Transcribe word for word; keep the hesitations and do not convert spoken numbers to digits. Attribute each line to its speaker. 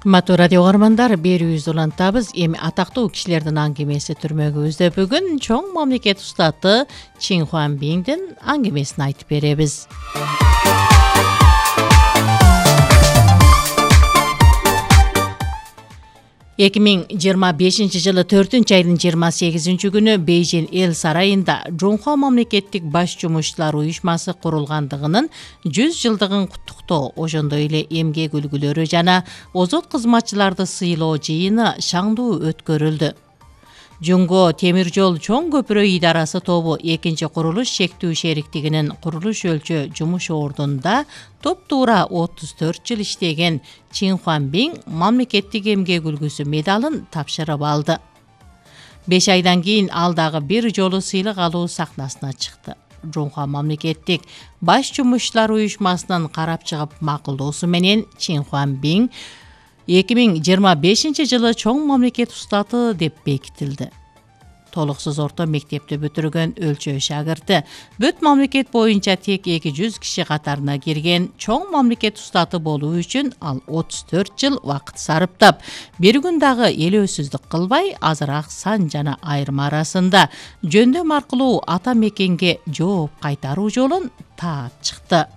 Speaker 1: Кымбаттуу радио каармандар, берүүбүздү улантабыз. Эми атактуу кишилердин аңгемеси түрмөгүбүздө бүгүн чоң мамлекет устаты Чин Хуанбиңдин аңгемесин айтып беребиз. эки миң жыйырма бешинчи жылы төртүнчү айдын жыйырма сегизинчи күнү Бейжин эл сарайында Жунхуа мамлекеттик баш жумушчулар уюшмасы курулгандыгынын жүз жылдыгын куттуктоо, ошондой эле эмгек үлгүлөрү жана озот кызматчыларды сыйлоо жыйыны шаңдуу өткөрүлдү. Жунго темир жол чоң көпүрө идарасы тобу экинчи курулуш шектүү шериктигинин курулуш өлчө жумуш ордунда топ-туура отуз төрт жыл иштеген Чин Хуанбиң мамлекеттик эмгек үлгүсү медалын тапшырып алды. беш айдан кийин ал дагы бир жолу сыйлык алуу сахнасына чыкты. Жунхуа мамлекеттик баш жумушчулар уюшмасынын карап чыгып макулдоосу менен Чин Хуанбиң эки миң жыйырма бешинчи жылы чоң мамлекет устаты деп бекитилди. Толуксуз орто мектепти бүтүргөн өлчө шагырты, бүт мамлекет боюнча тек эки жүз киши катарына кирген чоң мамлекет устаты болуу үчүн ал отуз төрт жыл убакыт сарыптап, бир күн дагы элөөсүздүк кылбай, азыраак сан жана айырма арасында жөндөм аркылуу ата мекенге жооп кайтаруу жолун таап чыкты.